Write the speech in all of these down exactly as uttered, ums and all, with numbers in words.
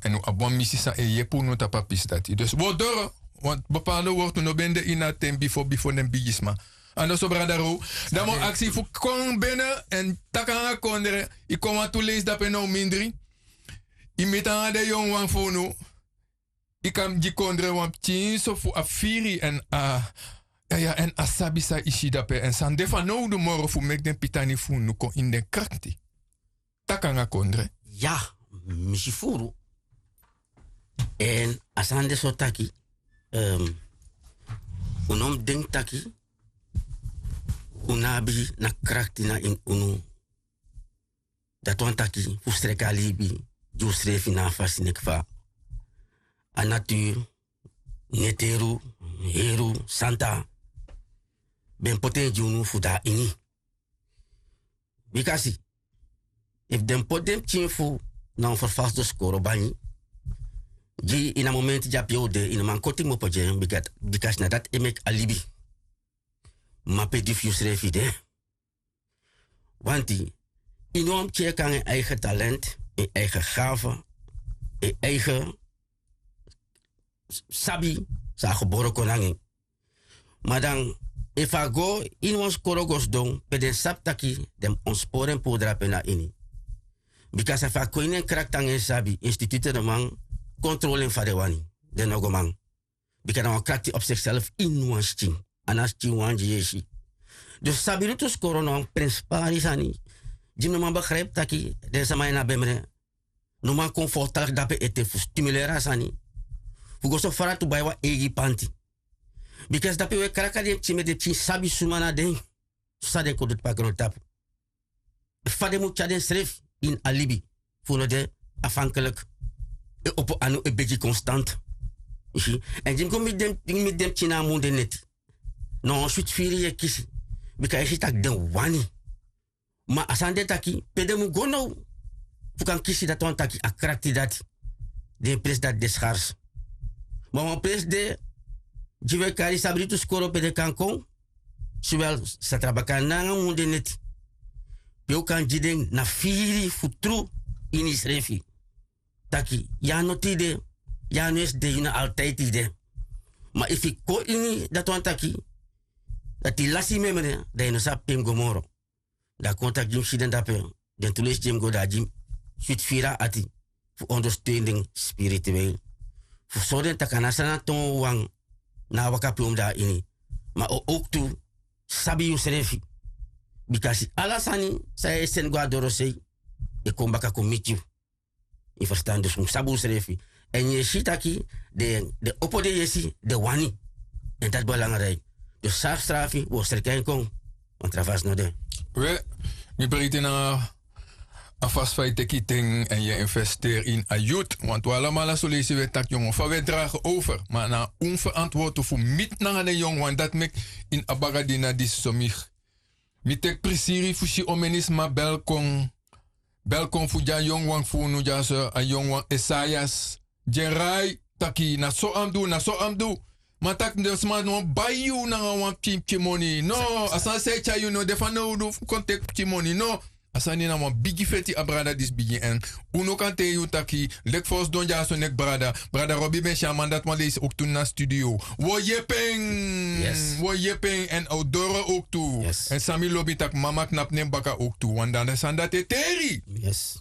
Èn un abi wan misi san e yepi unu tapu a pisi dati. Dus un o doro, want bepaalde wortu no ben de ini a ten bifo bifo den bigisma. Andoso brada row, dan mi o aksi fu kon bene èn taki nanga kondre. Yu kon wantu leisi dape na un mindri. Yu miti nanga den yongu wan fu unu. Yu kan gi kondre wan pikin so fu a firi èn a ya ya èn a sabi san yu si dape èn san de fanowdu moro fu meki den pitani fu unu kon ini den krakti. Taki nanga kondre. Ya, mi si furu. Èn a sani de so taki, un no mus denki taki un no abi na krakti na ini unu. Dati wani taki fu sreki a libi gi unsrefi na a fasi neki fa a naturu, neteru, heru, santa ben poti en gi unu fu de na ini. Bika si, efu den poti den pikin fu na wan ferfasi doskoro banyi gi yu ini a momenti dyape yu o de yu no man koti kmopo gi en. Bika si na dati e meki a libi. Mape di fu yusrefi de. Wanti yu no wan pikin e kon nanga en eigen talent, en eigen gafe, en eigen sabi san a gebore kon nanga en. Ma dan efu a go ini wan skoro go sidon pe den sabi taki den mus ontspori en puru drape na ini. Bika san efu a kon ini en krakti nanga en sabi institute no man kontrole en fa den wani. Den no go man. Bika na wan krakti op sikself ini wan skin. A na skin wan gi yesi. Dus sabi lutu skoro na wan prenspari sani. Gi mi no man begripi taki den sama ini a bemre no man kon fortaligi dape ete fu stimuleri a sani. Fu go so fara tu bai wan eigi panti. Bika si dape wi e kraka den pikin meti den pikin sabi suma na den. San den kon du tapu a grontapu. Fa den mus tyari densrefi ini a libi fu no de afankeliki. E opo anu e begi konstant. Yu si. Èn di mi go miti den pikin na a mun de neti na wan switi firi yu e kisi. Bika yu si tak' den wani. Ma a sani de taki pe den mus go now fu kan kisi dati wani taki a krakti dati. Den presi dati de skars. Ma wan presi de gi wi e kari sabritu skoro pe den kan kon. Swel sa tra baka nanga mun de neti. Pe un kan gi den na firi fu tru ini yusrefi. Taki yu a noti yu de. Yu a no esi de yu na altidi yu de. Ma efu yu kon ini dati wani taki dati yu lasi yu memre dan yu no sabi pe yu mus go moro. Dan a kon taki gi mi si den dape den tu leisi gi mi go dan a gi mi switi firi a ati fu ondersteun den spirituel fu sori den taki a na sani a ton wan na a waka pe un mus de na ini. Ma o owktu sabi yusrefi. Bika si ala sani san yu e seni go na dorosei e kon baka kon miti yu. Yu ferstan dus un mus sabi unsrefi. Èn yu e si taki den opo den yesi den wani. Èn dati belangriki. Dus sari srafi wi o sreki en kon. Wan tra fasi no de. We, mi breiti nanga a fasi fa yu teki yu ten èn yu e investeri ini a youth. Wantu alamala soleisi wi e taki yongo fa wi e dragi over ma na un ferantwortu fu miti nanga den yongu wan dati meki ini a bagadina disi so mi teki prisiri fu si omeni sma bel kon. Bel kon fu gi a yongu wan fu unu dyaso a yongu wan esaias. Gi en rai taki na so a mus du na so a mus du. Ma taki den sma no bai yu nanga wan pikin pikin moni no. A sani san e tyari yu no de fanowdu fu kon teki pikin moni no. A sani na wan bigi feti a brada disi bigin èn un no kan taigi yu taki leki fa un sidon dyaso neki brada. Brada robi ben si a man dati wan leisi oktu na studio. Wi o yepi en. Wi o yepi en èn a o doro oktu. Èn san mi lobi tak' mama knapu nen baka oktu wan dan den sani dati e teri.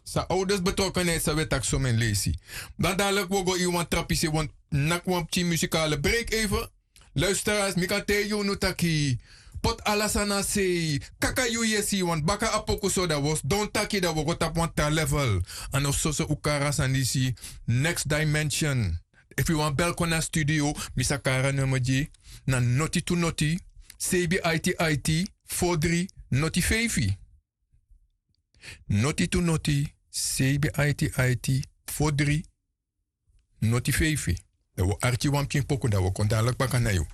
San owdes betrokenheit san wi e taki someni leisi. Dan dadiliki wi o go ini wan tra pisi wi o naki wan pikin musikale breiki eife. Luisteras mi kan taigi unu taki poti ala sani na sei. Kaka yu yesi wan baka a poku so dan wi o sidon taki dan wi o go tapu wan tra level. A no soso un kari a sani disi. Next dimension. Efu yu wani bel kon na studio mi sa kari a nummer gi na noti tu noti seibi aiti aiti fo dri noti feifi. Noti tu noti seibi aiti aiti fo dri noti feifi. Dan wi o arki wan pikin poku dan wi o kon dadiliki baka na yu.